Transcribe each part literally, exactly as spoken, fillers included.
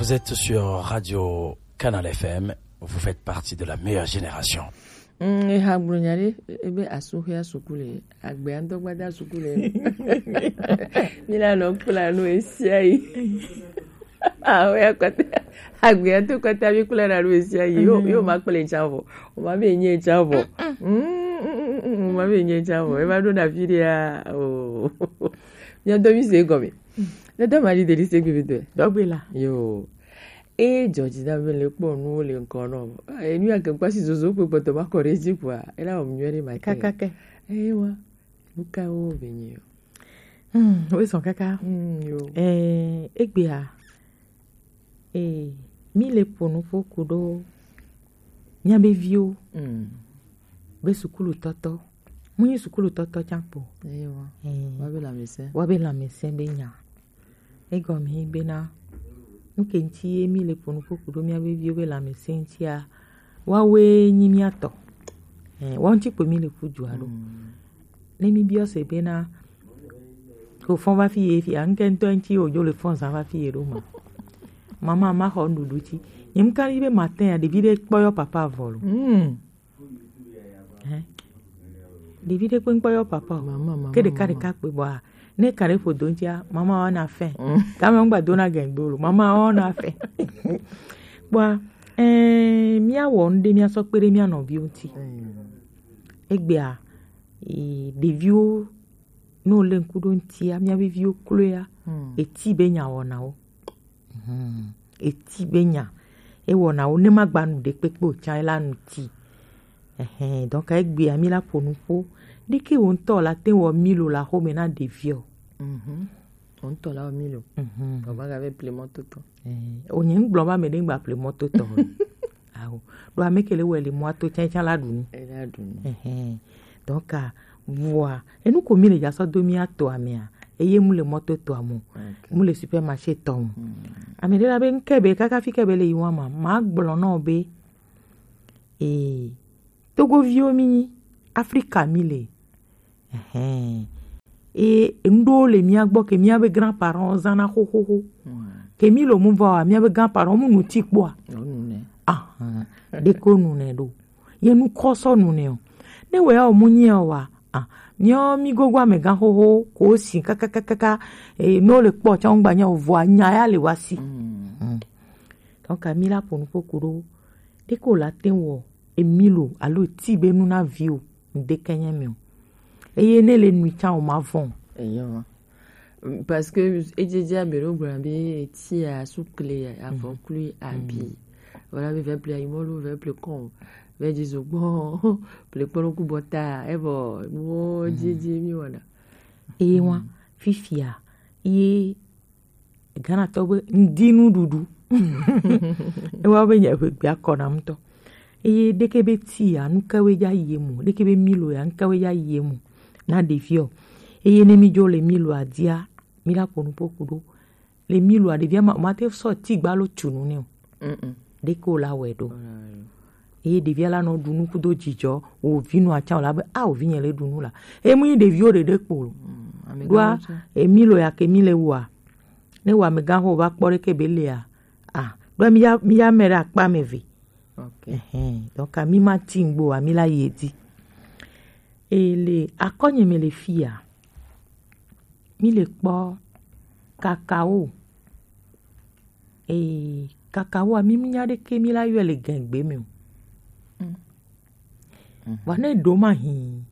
Vous êtes sur Radio Canal F M, vous faites partie de la meilleure génération. Mm, eha gblɔ nya ɖe, ebe asuxea suku le, agbea ŋutɔ gbada suku le. Mi la nɔ kpla nu esia yi. Awo ya kɔta, agbea to kɔta mi kpla na nu esia yi. Yo, yo ma kple tsa vɔ. O ma be nye tsa vɔ. Mm, mm, mm, mm, mm, o ma be nye tsa vɔ. E va ɖo na fi ɖe ya. Oh. Mia do mi se gɔme. Ne da ma di de di se gbe be do. Dɔgbe la. Yo. E dzɔ dzi da be le kpɔ nuwo le ŋkɔ nɔ. Enu ya ke kpasi zozo kpe kpɔtɔ ma kɔ ɖe dzi kua, e la wɔ mu nyuie ɖe ma te. Kaka ke. Eye wa, nu ka wo be nyi o? Hmm, wo zɔn kaka. Hmm, yo. Eh, egbea, eh, mi le ƒo nuƒo ku ɖo mía be viwo be sukulutɔtɔ. Mu nyi sukulutɔtɔ tsã kpo. Eye wa. Eh, wa be lãmesẽ. Wa be lãmesẽ be nya. Egɔme ye bena, nu ke ŋuti ye mi le ƒo nuƒo ku ɖo mía be viwo be lãmesẽ ŋutia, woawoe nyi mía tɔ. Eh, woawo ŋuti kpo mi le ƒu dua ɖo. Mm. Ne mi biɔ se bena, ko fɔn va fi ye fia, ŋke ŋutɔ ŋuti wo dzo le fɔn zan va fi ye ɖo ma. Mama ma xɔ nuɖuɖu tsi. Nye ŋka yi be matin ya, ɖevi ɖe kpɔ yɔ papa vɔ lo. Mm. Hɛn. Ɖevi ɖe kpe ŋkpɔ yɔ papa o. Mama, mama, ke ɖeka mama. Ɖeka kpe bɔa, ne ka ɖe ƒo do ŋutia, mama wa na fɛ. Mm. Kame ŋgba do na gɛn do lo, mama wa na fɛ. Bɔa, ɛɛ, mía wɔ nu ɖe mía sɔ kpe ɖe mía nɔviwo ŋuti. Mm. Egbea, ee, ɖeviwo, ne wo le ŋku ɖo ŋutia, mía be viwo kloea, mm, eti be nya wɔna wo. Hmm. Eti be nya. Ewɔna wo ne magba nu ɖekpekpe o tsã, ela nu ti. Ɛhɛn, donc egbea mi la ƒo nuƒo. Ɖeke wo ŋutɔ la te wɔ milo la xome na ɖeviɔ. Mhm. Wo ŋutɔ la wɔ milo. Mhm. Baba ga be ple mɔtotɔ. Eh, o nye ŋgblɔ ba me ɖe ŋgba ple mɔtotɔ o. Awo. Ɖo ame ke le wɔ le mɔa to tsã, tsã la ɖu nu. Ela ɖu nu. Ɛhɛn. Donc, a, vɔa, enu ko mi le dza sɔ do mía toa mea, eye mu le mɔto toa mo, ok, mu le supermarché tɔ mo. Mm. Ame ɖe la be ŋke be kaka fi ke be le yi wa ma, ma gblɔ nɔ be, ee, Togoviwo mi nyi, Afrika mi le. Ɛhɛn. E, enu ɖewo le mía gbɔ ke mía be grand-parents zãna xoxoxo. Mm. Ke mi lo mu va wa, mía be grand-parents mu nu ti kpɔa? Wo nu nɛ. Ahan. Ɖeko nu nɛ ɖo. Ye nu kɔ sɔ nu nɛ o. Ne wɛ o mu nyi o wa. Ah, miɔ mi gogo amegã xoxo ko si kakakakaka, e, no le kpɔ tsã ŋgba nya o vɔa nya ya le wa si. Mm. Mm. Donc, mi la ƒo nuƒo ku ɖo. Ɖeko la te wɔ emilo alo ti be nu na vi o. Ŋdeke nye mi o. Eye ne le nui tsã o ma vɔn. Eyo. Parce que edzedze ame ɖewo gblɔna be tia, sukle, avɔklui, abi. Voilà, be vɛ ple ayimɔlu, vɛ ple kɔn, vɛ dzi zogbɔn, ple kpɔnɔ ku bɔta, evɔ nuwo dzedze mi wɔna. Eye wa, fifia, ye Ghana tɔ be ŋdi nuɖuɖu. Ewa be nye ʋegbea kɔ nam ŋutɔ. Eye ɖeke be tia, nukawoe dza yi emu, ɖeke be milo ya, nukawoe dza yi emu na ɖeviɔ. Eye ne mi dzo le miloa dia, mi la ƒo nuƒo ku ɖo. Le miloa, ɖevia ma, ma te sɔ ti gbalo tu nu nɛ o. Mm-mm. Ɖeke o la wɛ ɖo. Eye ɖevia la nɔ ɖu nu kudo dzidzɔ, wo vi nɔ atsã o la be, a, wo vi nye le ɖu nu la. Eye mu nyi ɖeviwo ɖeɖe kpo lo. Mm, amegãwo ɖoa, tsã. Emi lo ya ke mi le wua. Ne wa amegã ho va kpɔ ɖeke be lea. A, ɖo mi ya, mi ya me ɖe akpa me ve. Ok. Ɛhɛn. Donc, mi ma ti ŋgbo, mi la yi edzi. E le akɔnye me le fia. Mi le kpɔ kakao. Ee, kakao a, mi nya ɖeke mi la yɔe le gɛngbe me o. Mm. Vɔ ne ɖo ma hin,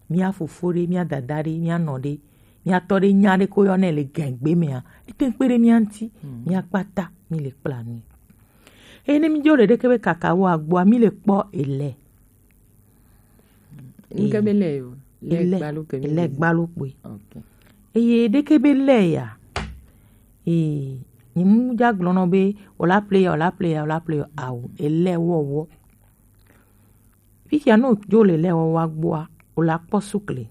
mia fofo ɖe, mia dada ɖe, mia nɔ ɖe, mia tɔ ɖe nya ɖe ko yɔ nɛ le gɛngbe mea, ete kpe ɖe mia ŋuti, mm, mia kpata mi le kpla nui. Eye ne mi dzo le ɖeke be kakao agboa, mi le kpɔ ele. Ŋke be lɛ yo, lɛ gbalo ke mi le gbalo kpoe. Ok. Eye ɖeke be lɛ ya. Ee, nyi mu dza gblɔ nɔ be, o la ple ya, o la ple ya, o la ple ya, ao, ele wɔwɔ. Fifia ne o dzo le ele wɔwɔ agboa, o la kpɔ sukle.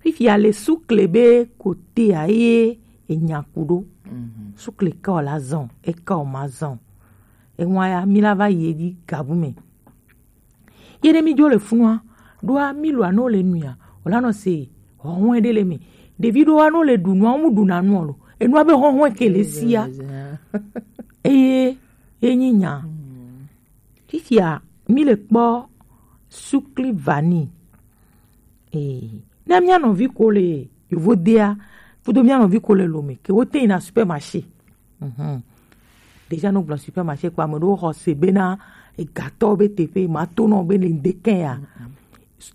Fifia le sukle be kotea ye enya ku ɖo. Mhm. Sukle ke o la zɔn, e ke o ma zɔn. Ewa ya, mi la va yi edzi gabu me. Ye ɖe mi dzo le funua, ɖoa mi lo anɔ le nuia, o la nɔ se hɔhɔe ɖe le me. Ɖevi ɖoa nɔ le ɖu nua, wo mu ɖu na nua lo. enua be hɔhɔn ke le sia. Eye ye nyi nya. Fifia mi le kpɔ sukli vanille. Ee, ne mía nɔvi ko le yovodea, kudo mía nɔvi ko le lome ke wote yina supermarché. Mhm. Déjà no gblɔ supermarché kpa, ame ɖewo xɔ se bena egatɔ be teƒe ma to nɔ be le ŋdekɛ ya.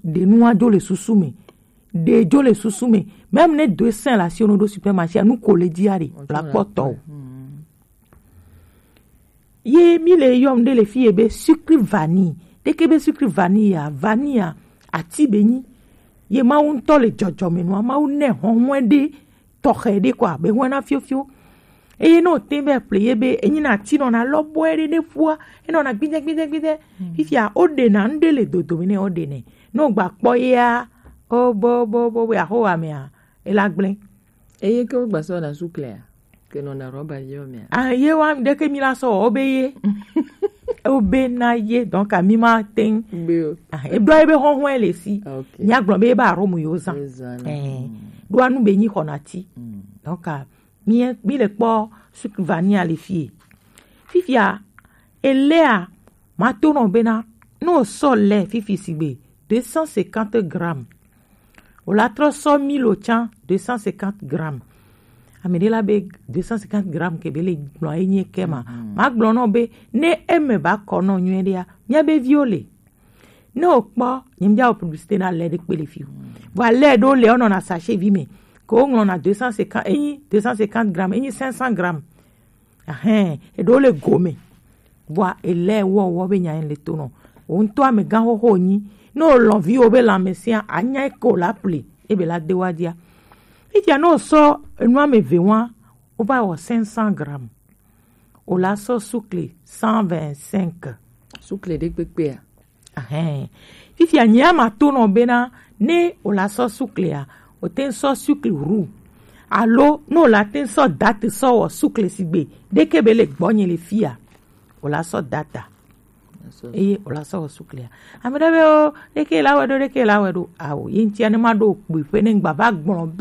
Ɖe nua dzo le susu me. Ɖe dzo le susu me. Même ne do sen la si ono ɖo supermarché, nu ko le dzia ɖe la kpɔtɔ o. Ye mi le yɔm ɖe le fi ye be sucre vanille. Ɖeke be sucre vanille ya, vanille ya, ati be nyi. Ye Mawu ŋutɔ le dzɔdzɔme nua, Mawu nɛ hɔnhɔn ɖe tɔxɛ ɖe kɔa, be hɔn na fiofio. Eye ne o te be ple ye be enyi na ti nɔ na lɔ bɔe ɖe ɖe ƒua, enɔ na gbidɛ gbidɛ gbidɛ. Fifia o ɖe na nu ɖe le dodome ne o ɖe nɛ. Ne o gba kpɔ yea, o bo bo bo bo ya ho wa mea, e la gblẽ. Eye ke wo gba sɔ na suklea, ke nɔ na rɔba yɔ mea. Ah, ye wa ɖeke mi la sɔ o be ye. O be na ye, donc a mi ma ten. Be o. Ah, e ɖo ye be hɔhɔn le si. Ok. Mía gblɔ be ba romu yo zan. Yo zan. Eh. Ɖo anu be nyi xɔ na ti. Donc a mi mi le kpɔ sucre vanille le fie. Fifia elea ma to nɔ bena no sɔ le fifi sigbe deux cent cinquante grammes. O la trɔ sɔ milo tsã deux cent cinquante grammes. Ame ɖe la be deux cent cinquante grammes ke be le gblɔ enye ke ma. Ma gblɔ nɔ be ne eme ba kɔ nɔ nyuie ɖea, mía be viwo le. Ne o kpɔ, nye mía o publicité na le ɖe kpe le fi o. Vɔ le ɖo le o nɔ na sachet vi me. Ke o ŋlɔ na deux cent cinquante, enyi deux cent cinquante grammes, enyi cinq cents grammes. Ahɛn, eɖewo le gome. Vɔa ele wɔwɔ be nya le to nɔ. O ŋutɔ amegã xoxo nyi. Ne o lɔn vi o be lãmesẽa, anya ke o la ple, ebe la de wa dia. Fifia ne o sɔ enu ame eve wa, o va wɔ cinq cents grammes. O la sɔ sukle cent vingt-cinq. Sukle ɖe kpekpea? Ahɛn. Fifia nyea ma to nɔ bena ne o la sɔ suklea, o te sɔ sukle ru. Alo ne o la te sɔ date sɔ wɔ sukle sigbe ɖeke be le gbɔnye le fia. O la sɔ data. Eye o la sɔ wɔ suklea. Ame ɖe be o ɖeke la wɛ ɖo, ɖeke la wɛ ɖo. Awo, ye ŋutia ne ma ɖo kpui ƒe ne ŋgba va gblɔ